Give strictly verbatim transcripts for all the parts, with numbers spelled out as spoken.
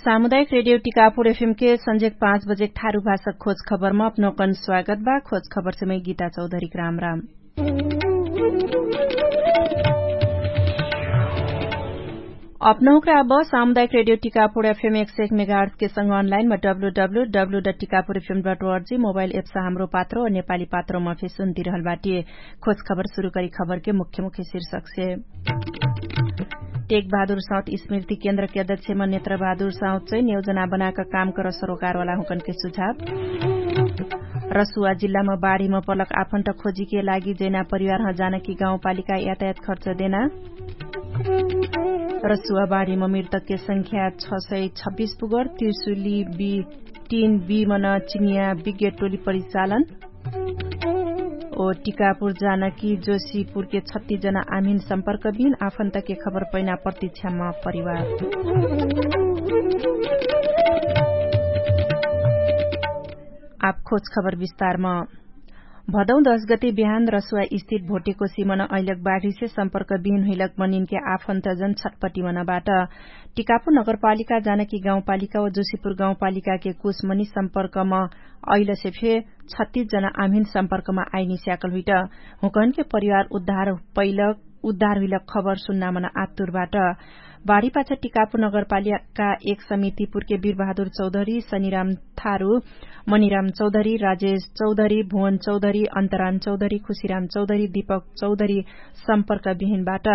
सामुदायिक रेडियो टिकापुर एफएम के संझेक पाँच बजेक थारु भाषक खोज खबरमा अपनोकन स्वागत बा। खोज खबर से मै गीता चौधरीक राम राम। अपनहुँक्रा अब सामुदायिक रेडियो टिकापुर एफएम एक सय एक मेगाहर्ट्स के संग अनलाइन मा W W W dot Tikapur FM dot ORG mobile apps Hamro Patro नेपाली पात्रोमा फेसुन तिरहल बाटिए। खोज खबर सुरु करी खबर के मुख्य मुख्य शीर्षक से। टेक बहादुर साउथ स्मृति केन्द्र के अध्यक्षमा नेत्र बहादुर साउथ चाहिँ नियोजना बनाएका काम कर सरोकारवाला हुँकन के सुझाव। रसुवा जिल्लामा बाढीमा पलक आफन्त खोजी के लागि जैना परिवार ह जानकी गाउँपालिका यातायात खर्च देना। रसुवा बाढीमा मृतक के संख्या छ सय छब्बिस पुगर तिर्सुली बी तीन बी मन चिनिया विज्ञ टोली परिचालन। ओ टिकापुर जानकी जोशीपुर के छत्तीस जना आमिन सम्पर्क बिन आफन्त के खबर पैना प्रतीक्षामा परिवार। आप खोज खबर विस्तारमा। भदौ दस गते बिहान रसुवा स्थित भोटेको सिमन अहिलक बाढीसे सम्पर्क बिहिन हुइलक मनिनके आफन्तजन छटपटी मनबाट। टिकापुर नगरपालिका जानकी गाउँपालिका व जोशीपुर गाउँपालिकाके कुसमनी सम्पर्कम अहिलसे फे छत्तीस जना आमिन सम्पर्कमा आइनी स्याकल हुइट। हुँकहनके परिवार उद्धार पैलक उद्धार हुइलक खबर सुन्नामन आतुरबाट। बाढीपाछ टिकापुर नगरपालिका एक समितिपुरके वीरबहादुर चौधरी सनिराम थारु, मनिराम चौधरी, राजेश चौधरी, भुवन चौधरी, अन्तराम चौधरी, खुसिराम चौधरी, दीपक चौधरी सम्पर्क बिहिनबाट।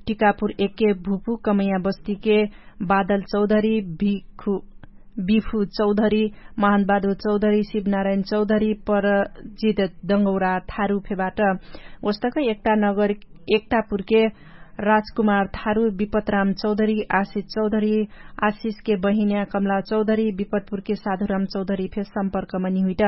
टिकापुर एके भुपु कमैया बस्तीके बादल चौधरी, बिखु बिफु चौधरी, महानबादु चौधरी, शिवनारायण चौधरी, परजित दङ्गौरा थारु फेबाट। ओस्तक एकटा नगर एकटापुरके राजकुमार थारु, विपतराम चौधरी, आशिष चौधरी, आशिषके बहिन्या कमला चौधरी, विपतपुरके साधुराम चौधरी फे सम्पर्कमा निहुइट।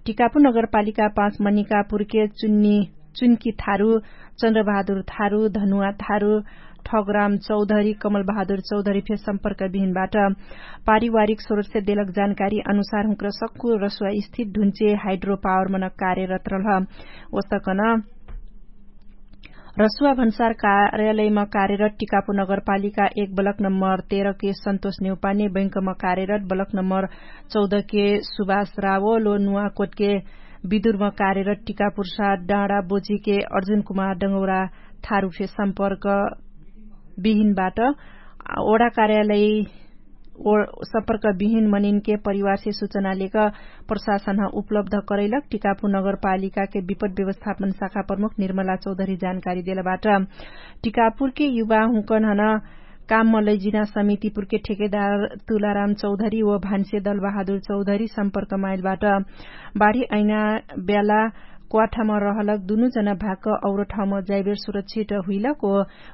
टिकापुर नगरपालिका पाँच मनिकापुरके चुन्नी चुन्की थारु, चन्द्रबहादुर थारु, धनुवा थारु, ठगराम चौधरी, कमलबहादुर चौधरी फे सम्पर्क बिहिनबाट। पारिवारिक स्रोतसे देलक जानकारी अनुसार हुँक्र सक्कु रसुवा स्थित ढुन्चे हाइड्रो पावर मन कार्यरत रहल। ओस्तकन रसुवा भन्सार कार्यालयमा कार्यरत टिकापु नगरपालिका एक बलक नम्बर तेह्र के सन्तोष नेउपाने बैंकमा कार्यरत बलक नम्बर चौध के सुभाष रावल नुवाकोटके विदुरमा कार्यरत टिकापुरसा डाँडा बोजीके अर्जुन कुमार डङ्गौरा थारु फे सम्पर्क बिहिनबाट। ओडा कार्यालय सम्पर्क बिहिन मनिनके परिवारसे सुचना लेक प्रशासन उपलब्ध करैलक टिकापुर नगरपालिकाके विपद व्यवस्थापन शाखा प्रमुख निर्मला चौधरी जानकारी देलबाट। टिकापुरके युवा हुँकन हन काममा लैजिना समितिपुरके ठेकेदार तुलाराम चौधरी व भान्से दलबहादुर चौधरी सम्पर्कमा आइलबाट। बाढी ऐना ब्याला क्वाठामा रहलक दुनु जना भाक और ठाउँमा जाइबेर सुरक्षित हुइलक ओ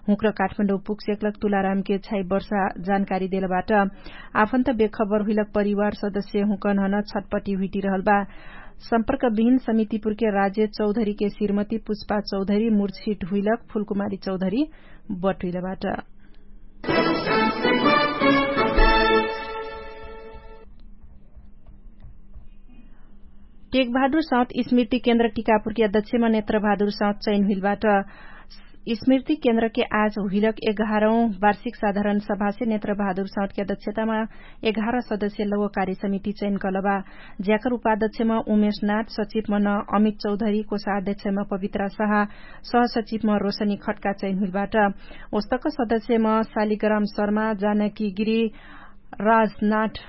हुँक्र काठमाडौँ पुगसेकलक तुलारामके छाइ वर्षा जानकारी देलबाट। आफन्त बेखबर हुइलक परिवार सदस्य हुँकन हन छटपटी हुइटिरहलबा। सम्पर्क बिहिन समितिपुरके राज्य चौधरीके श्रीमती पुष्पा चौधरी मुर्छिट हुइलक फुलकुमारी चौधरी बटुइलबाट। टेकबहादुर साउथ स्मृति केन्द्र टिकापुरकी अध्यक्षमा नेत्रबहादुर साउथ चैन हुइलबाट। स्मृति केन्द्रके आज हुइलक एघारौँ वार्षिक साधारण सभासे नेत्रबहादुर साउथकी अध्यक्षतामा एघार सदस्य लौकारी समिति चैन कलबा। ज्याकर उपाध्यक्षमा उमेशनाथ सचिवमा न अमित चौधरी कोषाध्यक्षमा पवित्रा सहा सहसचिवमा रोशनी खट्का चैन हुइलबाट। ओस्तक सदस्यमा शालिग्राम शर्मा जानकी गिरी राजनाथ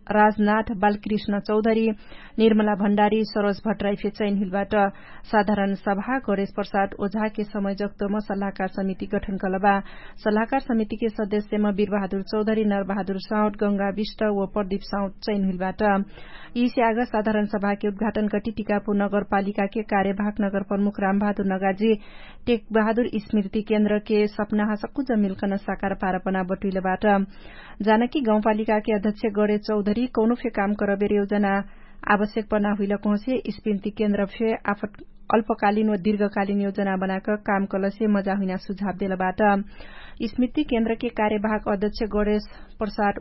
राजनाथ बालकृष्ण चौधरी निर्मला भण्डारी सरोज भट्टराई फे चैन हुइलबाट। साधारण सभा गणेश प्रसाद ओझाके समय जक्तोमा सल्लाहकार समिति गठन कलबा। सल्लाहकार समितिके सदस्यमा वीरबहादुर चौधरी नरबहादुर साउथ गंगा विष्ट व प्रदीप साउथ चैन हुइलबाट। यिसे आग साधारण सभाके उद्घाटन कटी टिकापु नगरपालिकाके कार्यभाग नगरप्रमुख रामबहादुर नगाजी टेकबहादुर स्मृति केन्द्रके सपना हसक्कु जमिलकन साकार पारपना बटुइलबाट। जानकी गाउँपालिकाके अध्यक्ष गणे चौधरी कौनो फे काम करबेर योजना आवश्यक पर्ना हुइलक होसे स्मृति केन्द्र फे आफत अल्पकालिन व दिर्घकालिन योजना बनाक काम कलसे मजा हुइना सुझाव देलबाट। स्मृति केन्द्रके कार्यभाग अध्यक्ष गणेश प्रसाद